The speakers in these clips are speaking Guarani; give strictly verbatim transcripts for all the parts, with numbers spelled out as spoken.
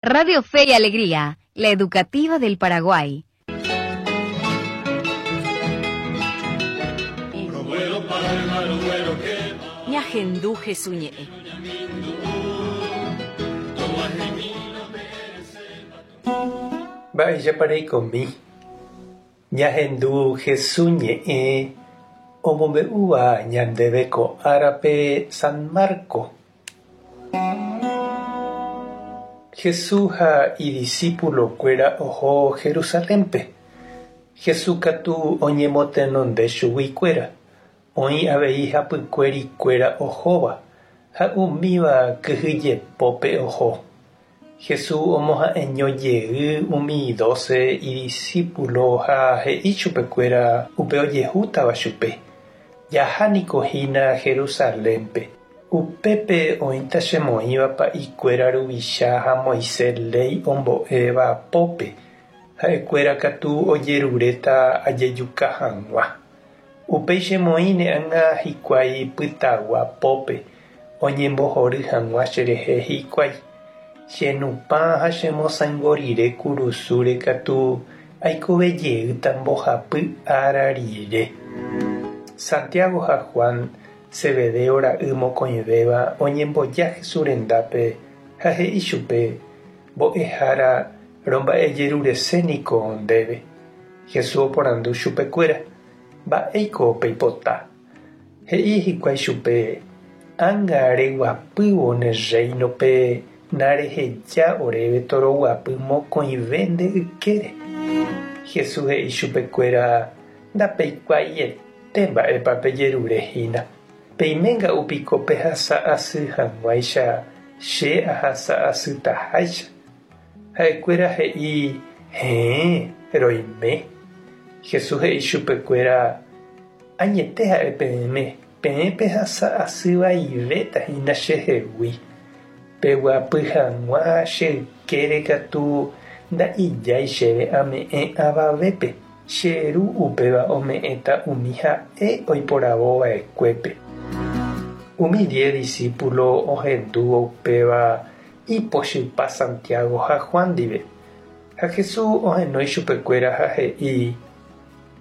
Radio Fe y Alegría, la educativa del Paraguay. Ñahendu Jesús ñe'ẽ. Mba'éichapa reikomi. Ñahendu Jesús ñe'ẽ omombe'úva ñandéve ko árape San Marco. Jesús ha idiscípulokuéra oho Jerusalénpe. Jesús katu oñemotenonde chuguikuéra, oĩ avei hapykuerikuéra ohóva ha umíva kyhyjepópe oho. Jesús omoha'eño jey umi doce idiscípulo ha he'i chupekuéra upe ojehútava chupe. Jahániko hína Jerusalénpe. Upépe oĩta chemoĩva pa'ikuéra ruvicha ha Moisés léi ombo'éva pópe. Ha'ekuéra katu ojeruréta ajejuka hag̃ua. Upéi chemoĩne ág̃a hikuái pytagua pópe oñembohory hag̃ua cherehe hikuái. Chenupã ha chemosãingo rire kurusúre katu aikovejeýta mbohapy ára rire. Santiago ha Juan Zebedeo ra'y mokõivéva oñemboja Jesús rendápe ha he'i chupe mbo'ehára romba'ejerureséniko ndéve. Jesús oporandu chupekuéra mba'éiko peipota. He'i hikuái chupe ág̃a reguapývo ne rréinope nareheja oréve toroguapy mokõive nde ykére. Jesús he'i chupekuéra ndapeikuaaiete mba'épa pejerurehína. Peiménga'upiko pehasa'asy hag̃uáicha che ahasa'asytaháicha. Ha'ekuéra he'i héẽ roime. Jesús he'i chupekuéra añete ha'e peẽme peẽ pehasa'asyvaivéta hína chehegui. Peguapy hag̃ua che ykére katu nda'ijái chéve ame'ẽ avavépe. Che ru upéva ome'ẽta umi ha'e oiporavova'ekuépe. Umi diez discípulo ohendúvo upéva ipochypa Santiago ha Juan ndive. Ha Jesús ohenói chupekuéra ha he'i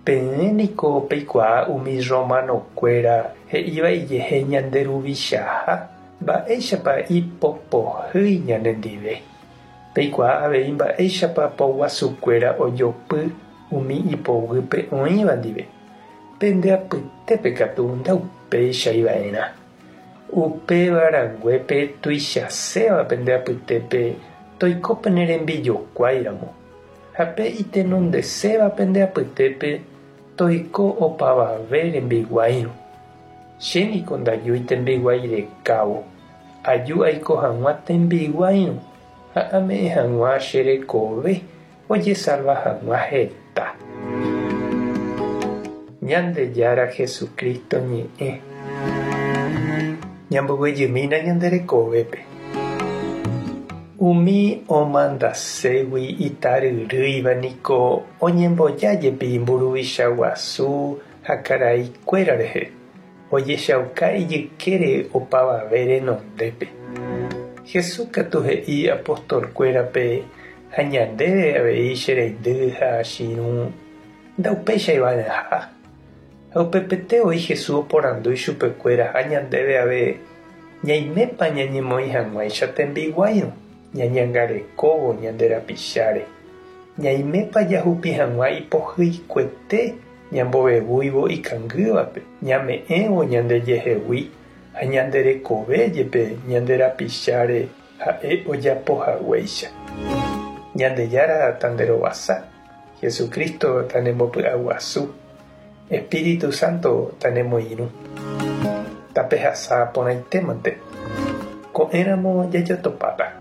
peẽ niko peikuaa umi romanokuéra he'íva ijehe ñande ruvichaha mba'éichapa ipopohýi ñanendive. Peikuaa avei mba'éichapa poguasukuéra ojopy umi ipoguýpe oĩva ndive. Pende apytépe katu ndaupeichaiva'erã. Upéva ranguépe tuichaséva pende apytépe toiko pene rembijokuáiramo. Ha pe itenondeséva pende apytépe toiko opavave rembiguáirõ. Chéniko ndajúi tembiguái rekávo. Aju aiko hag̃ua tembiguáirõ ha ame'ẽ hag̃ua che rekove ojesalva hag̃ua heta. Ñandejára Jesucristo ñe'ẽ. Ñamboguejymína ñande rekovépe. Umi omandaségui itaryrýiva niko oñemboja jepi mburuvicha guasu ha karaikuéra rehe. Ojechauka ijykére opavave renondépe. Jesús katu he'i apostolkuérape ha ñandéve avei che reindy ha chirũ ndaupeichaiva'erãha. Ha upepete oĩ Jesús oporandu ichupekuéra ha ñandéve ave ñaimépa ñañemoĩ hag̃uáicha tembiguáirõ ñañangarekóvo ñande rapicháre. Ñaimépa jahupi hag̃ua ipohyikuete ñambovevúivo ikangývape ñame'ẽvo ñandejehegui ha ñande rekove jepe ñande rapicháre ha'e ojapohaguéicha. Ñandejára tanderovasa, Jesucristo tanembopy'aguasu, Espíritu Santo tanemoirũ. Tapehasa porãitémante. Ko'ẽramo jajotopáta.